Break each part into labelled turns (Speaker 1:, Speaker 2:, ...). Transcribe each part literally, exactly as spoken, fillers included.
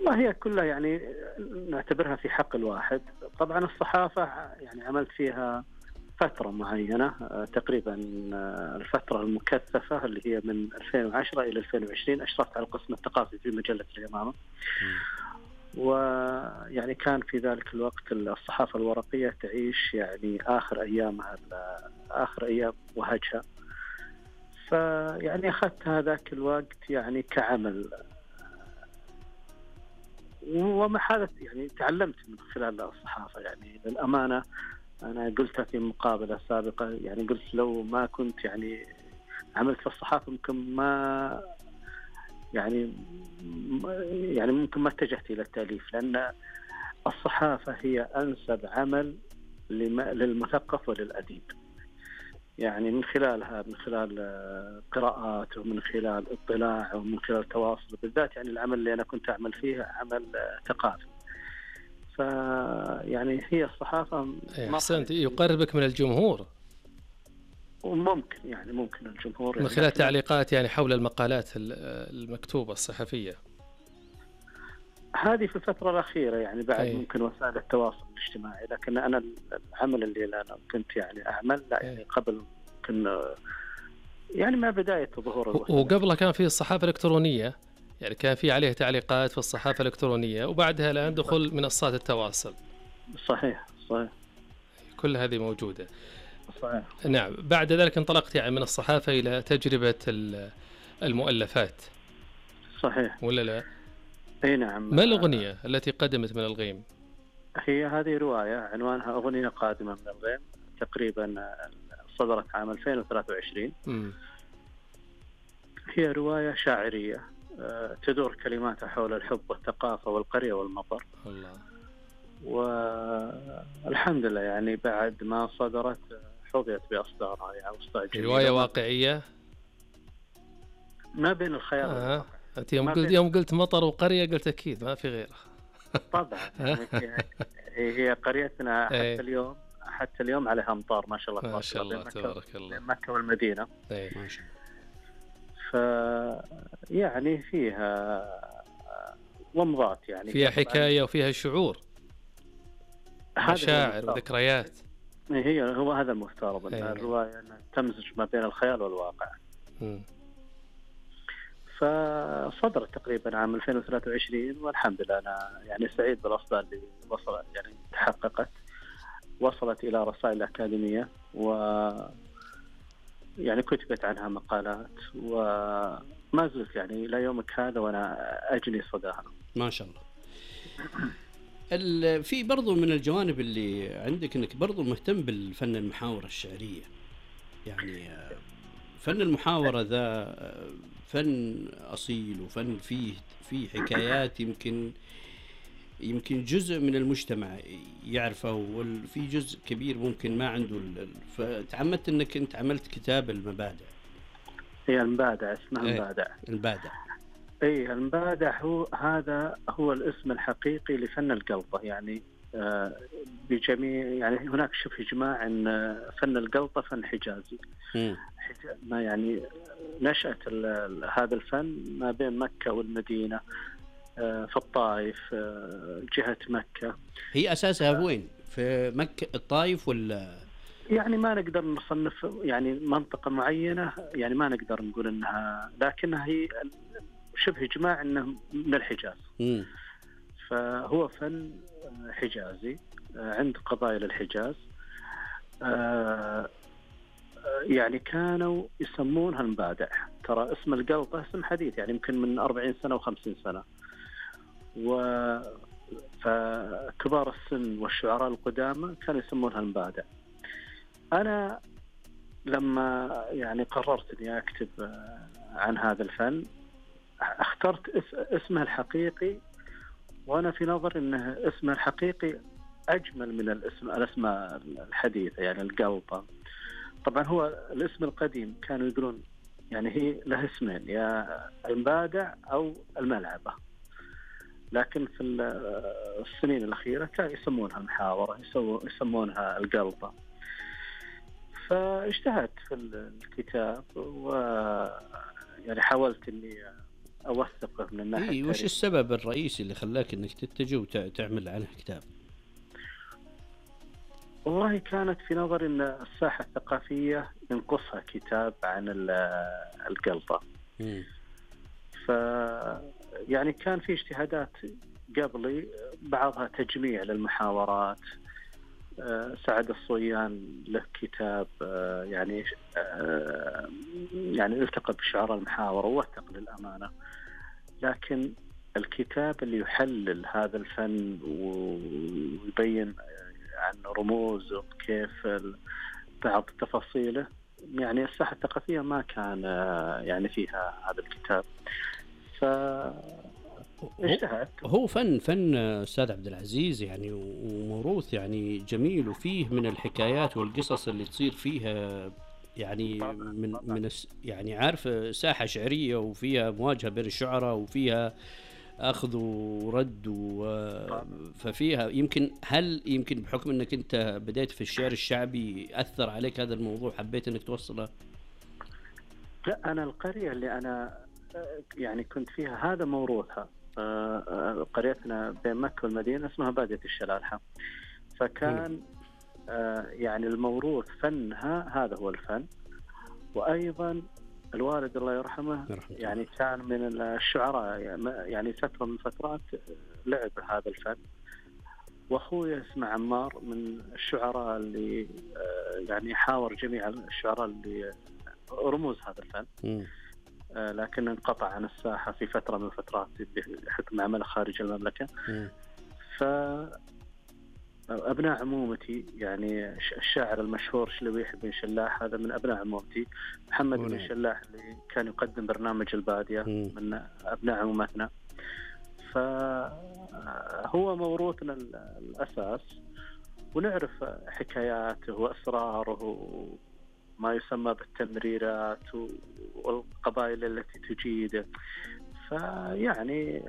Speaker 1: والله هي كلها يعني نعتبرها في حق الواحد. طبعا الصحافة يعني عملت فيها فترة معينة تقريبا الفترة المكثفة اللي هي من ألفين وعشرة إلى ألفين وعشرين، أشرفت على القسم الثقافي في مجلة اليمامة. ويعني كان في ذلك الوقت الصحافة الورقية تعيش يعني آخر أيامها آخر أيام وهجها، فيعني أخذت هذاك الوقت يعني كعمل، وما حالة يعني تعلمت من خلال الصحافة. يعني للأمانة أنا قلتها في مقابلة سابقة، يعني قلت لو ما كنت يعني عملت في الصحافة ممكن ما يعني يعني ممكن ما اتجهت إلى التأليف، لأن الصحافة هي أنسب عمل للمثقف وللأديب. يعني من خلالها، من خلال قراءات ومن خلال اطلاع ومن خلال تواصل، بالذات يعني العمل اللي أنا كنت أعمل فيه عمل ثقافي، فيعني هي الصحافة
Speaker 2: أحسنت يقربك من الجمهور،
Speaker 1: وممكن يعني ممكن الجمهور
Speaker 2: من خلال تعليقات يعني حول المقالات المكتوبة الصحفية.
Speaker 1: هذه في الفترة الأخيرة يعني بعد
Speaker 2: أي.
Speaker 1: ممكن وسائل التواصل الاجتماعي، لكن أنا العمل اللي أنا كنت يعني أعمل لا يعني قبل كنا يعني ما بداية ظهور
Speaker 2: الوسائل. وقبلها كان في الصحافة الإلكترونية، يعني كان في عليه تعليقات في الصحافة الإلكترونية، وبعدها الآن دخول منصات التواصل.
Speaker 1: صحيح صحيح،
Speaker 2: كل هذه موجودة.
Speaker 1: صحيح.
Speaker 2: نعم. بعد ذلك انطلقت يعني من الصحافة إلى تجربة المؤلفات.
Speaker 1: صحيح
Speaker 2: ولا لا؟
Speaker 1: اي نعم.
Speaker 2: ما الأغنية التي قدمت من الغيم؟
Speaker 1: هي هذه رواية عنوانها أغنية قادمة من الغيم، تقريبا صدرت عام ألفين وثلاثة وعشرين.
Speaker 2: م.
Speaker 1: هي رواية شاعرية تدور كلماتها حول الحب والثقافة والقرية والمطر.
Speaker 2: الله.
Speaker 1: والحمد لله يعني بعد ما صدرت حظيت بأصدارها يعني أصدار جميلة.
Speaker 2: رواية واقعية
Speaker 1: ما بين الخيال
Speaker 2: آه.
Speaker 1: والواقع.
Speaker 2: أنت يوم قلت يوم قلت مطر وقرية قلت أكيد ما في غيره.
Speaker 1: طبعا يعني هي قريتنا حتى اليوم حتى اليوم عليها أمطار ما شاء الله.
Speaker 2: ما شاء الله تبارك الله.
Speaker 1: مكة والمدينة.
Speaker 2: أي ما شاء
Speaker 1: الله. فيعني فيها ومضات يعني
Speaker 2: فيها حكاية وفيها شعور، مشاعر وذكريات.
Speaker 1: هي هو هذا المفترض أن الرواية تمزج ما بين الخيال والواقع.
Speaker 2: م.
Speaker 1: فصدرت تقريبا عام ألفين وثلاثة وعشرين، والحمد لله أنا يعني سعيد بالأصدار اللي وصلت يعني تحققت، وصلت إلى رسائل أكاديمية و يعني كتبت عنها مقالات، وما زلت يعني إلى يومك هذا وأنا أجني صداها.
Speaker 3: ما شاء الله. في برضو من الجوانب اللي عندك أنك برضو مهتم بالفن المحاورة الشعرية، يعني فن المحاورة ذا فن أصيل وفن فيه فيه حكايات يمكن يمكن جزء من المجتمع يعرفه، وفي جزء كبير ممكن ما عنده. فتعمدت أنك أنت عملت كتاب المبادع.
Speaker 1: هي المبادع اسمها المبادع.
Speaker 3: المبادع
Speaker 1: أي المبادع هو هذا هو الاسم الحقيقي لفن القلطة. يعني آه بجميع يعني هناك شبه إجماع أن فن القلطة فن حجازي. ما يعني نشأت هذا الفن ما بين مكة والمدينة، آه في الطائف، آه جهة مكة.
Speaker 3: هي أساسها وين؟ في مكة الطائف ولا؟
Speaker 1: يعني ما نقدر نصنف يعني منطقة معينة، يعني ما نقدر نقول أنها، لكنها هي شبه إجماع أنه من الحجاز.
Speaker 3: م.
Speaker 1: فهو فن حجازي عند قبائل الحجاز. يعني كانوا يسمونها المبادع. ترى اسم القلطة اسم حديث يعني يمكن من أربعين سنة وخمسين سنة. فكبار السن والشعراء القدامى كانوا يسمونها المبادع. أنا لما يعني قررت أني أكتب عن هذا الفن اخترت اسمه الحقيقي، وأنا في نظر أنه اسمه الحقيقي أجمل من الاسم الأسماء الحديثة يعني القلطة. طبعا هو الاسم القديم كانوا يقولون يعني هي له اسمين، يا المبادع أو الملعبة، لكن في السنين الأخيرة كانوا يسمونها المحاورة، يسمونها القلطة. فاجتهدت في الكتاب و يعني حاولت أني أوثقه من الناحية
Speaker 3: إيه، وش
Speaker 1: التاريخية.
Speaker 3: السبب الرئيسي اللي خلاك إنك تتجه وتعمل عنه كتاب؟
Speaker 1: والله كانت في نظري أن الساحة الثقافية ينقصها كتاب عن ال- القلطة.
Speaker 3: مم.
Speaker 1: ف يعني كان في اجتهادات قبلي، بعضها تجميع للمحاورات. آه، سعد الصويان له كتاب آه، يعني آه، يعني التقى بشعراء المحاورة ووثق للأمانة، لكن الكتاب اللي يحلل هذا الفن ويبين عن رموزه وكيف ال- بعض تفاصيله، يعني الساحة الثقافية ما كان آه، يعني فيها هذا الكتاب. ف اجتهدت.
Speaker 3: هو فن فن أستاذ عبد العزيز يعني، وموروث يعني جميل، وفيه من الحكايات والقصص اللي تصير فيها يعني من من الس- يعني عارف ساحة شعرية، وفيها مواجهة بين الشعراء، وفيها أخذ ورد و- ففيها يمكن هل يمكن بحكم أنك أنت بديت في الشعر الشعبي أثر عليك هذا الموضوع، حبيت أنك توصله؟
Speaker 1: لا، أنا القرية اللي أنا آه، يعني كنت فيها هذا موروثها. آه، آه، قريتنا بين مكة والمدينة اسمها بادية الشلالحة، فكان آه، يعني الموروث فنها هذا هو الفن. وأيضا الوالد الله يرحمه
Speaker 3: يرحمه
Speaker 1: يعني كان من الشعراء، يعني فترة من الفترات لعب هذا الفن. وأخوي اسمه عمار من الشعراء اللي آه، يعني حاور جميع الشعراء اللي رموز هذا الفن،
Speaker 3: مم.
Speaker 1: آه، لكن انقطع عن الساحة في فترة من الفترات بحكم عمله خارج المملكة.
Speaker 3: مم.
Speaker 1: فأبناء عمومتي يعني الشاعر المشهور شلويح بن شلاح هذا من أبناء عمومتي. محمد
Speaker 3: ونعم.
Speaker 1: بن شلاح اللي كان يقدم برنامج البادية
Speaker 3: مم.
Speaker 1: من أبناء عمومتنا. فهو موروثنا الأساس، ونعرف حكاياته وأسراره، ما يسمى بالتمريرات والقبائل التي تجيده. فيعني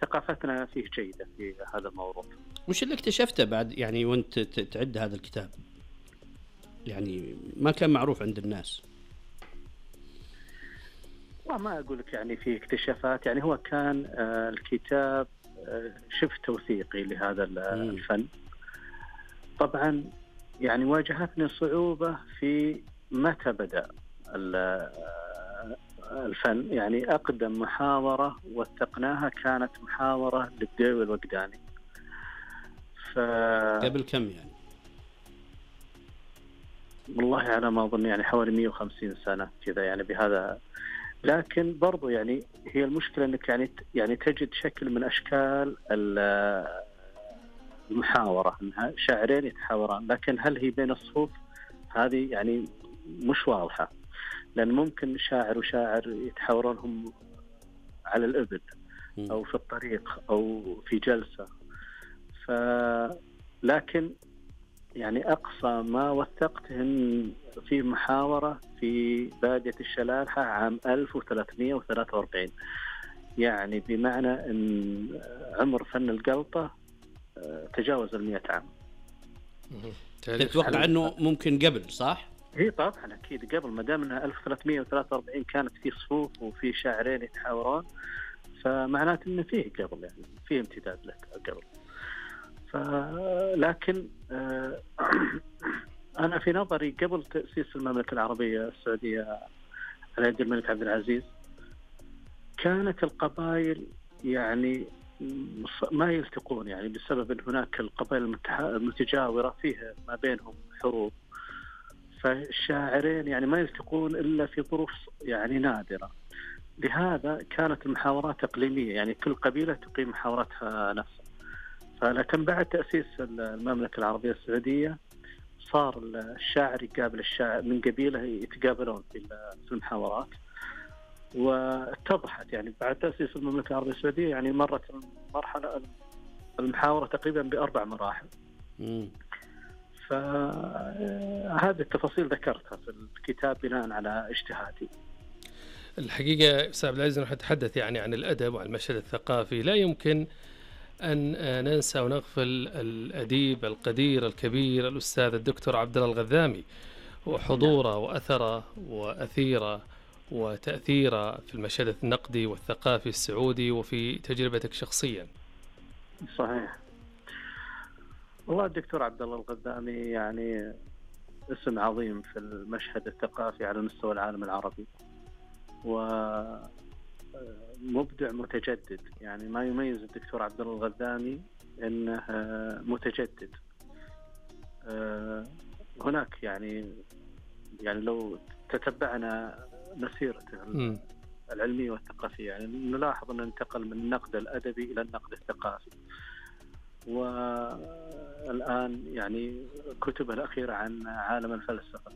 Speaker 1: ثقافتنا فيه جيدة في هذا الموضوع.
Speaker 3: وش اللي اكتشفته بعد يعني وانت ت- تعد هذا الكتاب؟ يعني ما كان معروف عند الناس.
Speaker 1: وما أقول لك يعني في اكتشافات، يعني هو كان آه، الكتاب آه، شبه توثيقي لهذا ال-
Speaker 3: مم.
Speaker 1: الفن. طبعا يعني واجهتني صعوبة في متى بدأ ال- آه، الفن. يعني أقدم محاورة وثقناها كانت محاورة للديوي الوقداني. ف...
Speaker 3: قبل كم يعني؟
Speaker 1: والله على ما أظن يعني حوالي مئة وخمسين سنة كذا يعني بهذا. لكن برضو يعني هي المشكلة أنك يعني يعني تجد شكل من أشكال ال- المحاورة، أنها شاعرين يتحاوران، لكن هل هي بين الصفوف؟ هذه يعني مش واضحة، لأن ممكن شاعر وشاعر يتحاورون هم على الإبل
Speaker 3: مم.
Speaker 1: أو في الطريق أو في جلسة. ف لكن يعني أقصى ما وثقته إن في محاورة في بادية الشلالحة عام ألف وثلاثمئة وثلاثة وأربعين، يعني بمعنى أن عمر فن القلطة آه، تجاوز المئة عام.
Speaker 2: مهم. تاريخ.
Speaker 3: تتوقع انه ممكن قبل صح؟
Speaker 1: هي طبعا أكيد قبل، ما دام أنها ألف وثلاثمئة وثلاثة وأربعين كانت في صفوف وفي شاعرين يتحاورون، فمعناته أنه فيه قبل، يعني فيه امتداد له قبل. ف... لكن آه، أنا في نظري قبل تأسيس المملكة العربية السعودية على يد الملك عبد العزيز كانت القبائل يعني ما يلتقون، يعني بسبب أن هناك القبائل المتجاورة فيها ما بينهم حروب، فالشاعرين يعني ما يلتقون إلا في ظروف يعني نادرة. لهذا كانت المحاورات إقليمية، يعني كل قبيلة تقيم محاوراتها نفسها. فلكن بعد تأسيس المملكة العربية السعودية صار الشاعر يقابل الشاعر من قبيلة يتقابلون في المحاورات، واتضحت يعني بعد تأسيس المملكة العربية السعودية يعني مرت المرحلة المحاورة تقريبا بأربع مراحل.
Speaker 3: مم.
Speaker 1: فهذه التفاصيل ذكرتها في الكتاب بناء على اجتهادي.
Speaker 2: الحقيقة أستاذ عبد العزيز، نحن نتحدث يعني عن الأدب وعن المشهد الثقافي، لا يمكن أن ننسى ونغفل الأديب القدير الكبير الأستاذ الدكتور عبد الله الغذامي، وحضوره وأثره وأثيره وتأثيره في المشهد النقدي والثقافي السعودي وفي تجربتك شخصيا.
Speaker 1: صحيح. والله الدكتور عبد الله الغذامي يعني اسم عظيم في المشهد الثقافي على مستوى العالم العربي، ومبدع متجدد. يعني ما يميز الدكتور عبد الله الغذامي انه متجدد. هناك يعني يعني لو تتبعنا مسيرته
Speaker 2: م.
Speaker 1: العلمية والثقافية يعني نلاحظ أنه انتقل من النقد الأدبي إلى النقد الثقافي، والآن يعني كتبه الأخيرة عن عالم الفلسفة.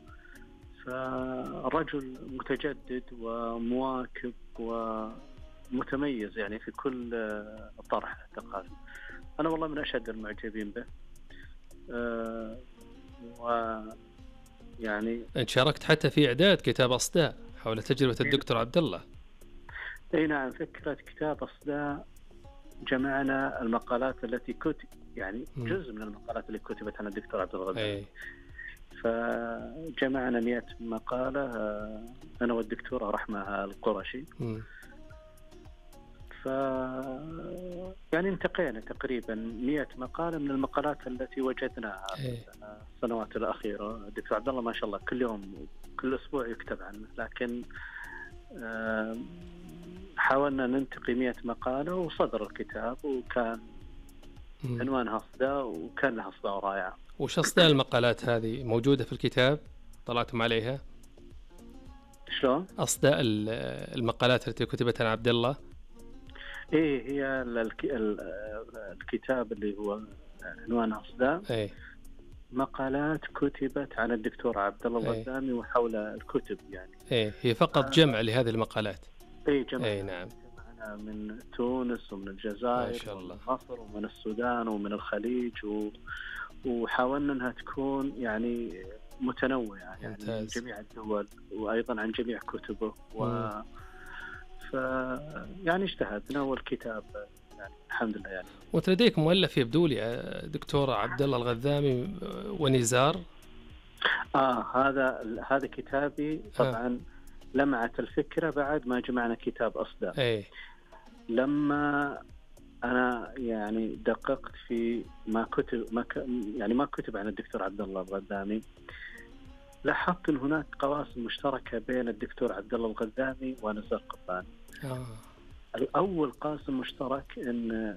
Speaker 1: فرجل متجدد ومواكب ومتميز يعني في كل طرح ثقافي. أنا والله من أشد المعجبين به. أه ويعني
Speaker 2: أنت شاركت حتى في إعداد كتاب أصداء حول تجربة الدكتور عبد الله.
Speaker 1: اي نعم، فكرة كتاب أصداء جمعنا المقالات التي كتب، يعني جزء من المقالات اللي كتبت عن الدكتور عبد الله الغذامي. فجمعنا مئة مقالة أنا والدكتورة رحمة القرشي. م. ف يعني انتقينا تقريبا مئة مقالة من المقالات التي وجدناها في السنوات الأخيرة. الدكتور عبد الله ما شاء الله كل يوم كل أسبوع يكتب عنه، لكن حاولنا ننتقي مئة مقالة وصدر الكتاب، وكان م. عنوانها أصداء، وكان لها أصداء رائعة.
Speaker 2: وش أصداء المقالات هذه موجودة في الكتاب؟ طلعتم عليها؟
Speaker 1: شلون؟
Speaker 2: أصداء المقالات التي كتبت عن عبد الله؟
Speaker 1: إيه، هي الكتاب اللي هو عنوانها أصداء.
Speaker 2: إيه.
Speaker 1: مقالات كتبت عن الدكتور عبد الله الغذامي وحول الكتب يعني.
Speaker 2: إيه، هي فقط جمع لهذه المقالات.
Speaker 1: إيه جمع.
Speaker 2: إيه نعم.
Speaker 1: جمعنا من تونس ومن الجزائر
Speaker 2: ما شاء الله.
Speaker 1: ومن مصر ومن السودان ومن الخليج، و... وحاولنا أنها تكون يعني متنوعة يعني من جميع الدول، وأيضا عن جميع كتبه. و ف يعني اجتهدنا والكتاب يعني الحمد لله يعني.
Speaker 2: وانت لديك مؤلف يبدو لي دكتور عبد الله الغذامي ونزار.
Speaker 1: اه هذا هذا كتابي طبعا. آه. لمعت الفكرة بعد ما جمعنا كتاب أصداء.
Speaker 2: اي
Speaker 1: لما أنا يعني دققت في ما كتب ما ك... يعني ما كتب عن الدكتور عبد الله الغذامي، لاحظت أن هناك قواسم مشتركة بين الدكتور عبد الله الغذامي ونزار قباني.
Speaker 2: آه.
Speaker 1: الأول قاسم مشترك أن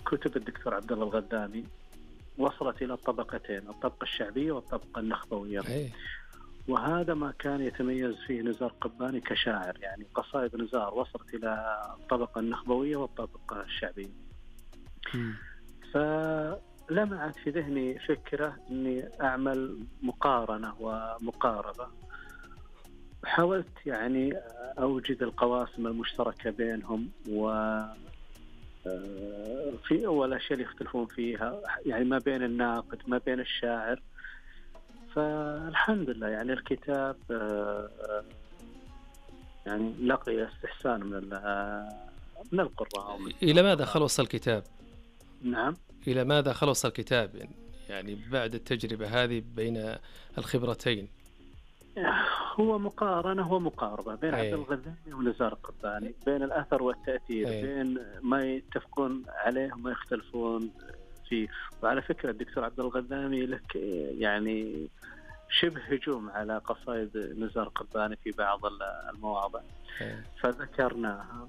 Speaker 1: كتب الدكتور عبد الله الغذامي وصلت إلى الطبقتين، الطبقة الشعبية والطبقة النخبوية.
Speaker 2: أي.
Speaker 1: وهذا ما كان يتميز فيه نزار قباني كشاعر، يعني قصائد نزار وصلت إلى الطبقة النخبوية والطبقة الشعبية.
Speaker 2: م.
Speaker 1: فلمعت في ذهني فكرة أني أعمل مقارنة ومقاربة. حاولت يعني أوجد القواسم المشتركة بينهم، و في أول أشياء اللي يختلفون فيها يعني ما بين الناقد ما بين الشاعر. فالحمد لله يعني الكتاب يعني لقي استحسان من من القراء.
Speaker 2: إلى ماذا خلص الكتاب؟
Speaker 1: نعم،
Speaker 2: إلى ماذا خلص الكتاب يعني بعد التجربة هذه بين الخبرتين؟
Speaker 1: هو مقارنة ومقاربة بين عبد الغذامي ونزار قباني، بين الأثر والتأثير. أي. بين ما يتفقون عليه وما يختلفون فيه. وعلى فكرة الدكتور عبد الغذامي لك يعني شبه هجوم على قصائد نزار قباني في بعض المواضع.
Speaker 2: أي.
Speaker 1: فذكرناها.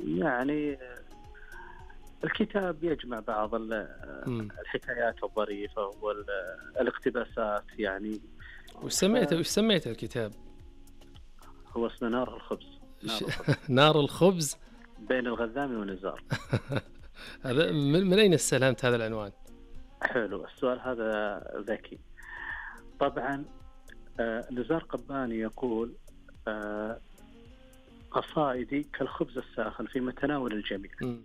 Speaker 1: يعني الكتاب يجمع بعض الحكايات الظريفة والاقتباسات يعني.
Speaker 2: وش سميته وش سميته الكتاب؟
Speaker 1: هو اسمه نار الخبز.
Speaker 2: نار الخبز, نار الخبز
Speaker 1: بين الغذامي ونزار.
Speaker 2: هذا من أين استلهمت هذا العنوان؟
Speaker 1: حلو السؤال هذا ذكي. طبعا آه نزار قباني يقول آه قصائدي كالخبز الساخن في متناول الجميع.
Speaker 2: م.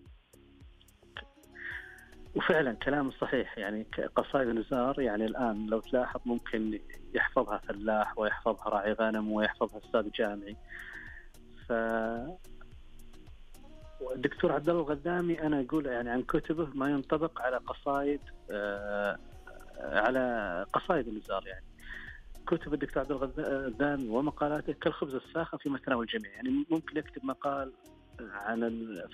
Speaker 1: وفعلا كلام صحيح. يعني قصائد نزار يعني الآن لو تلاحظ ممكن يحفظها فلاح ويحفظها راعي غنم ويحفظها أستاذ جامعي. ف الدكتور عبد الله الغذامي أنا أقول يعني عن كتبه ما ينطبق على قصائد آه على قصائد نزار. يعني كتب الدكتور عبد الغذامي ومقالاته كالخبز الساخن في متناول الجميع. يعني ممكن يكتب مقال عن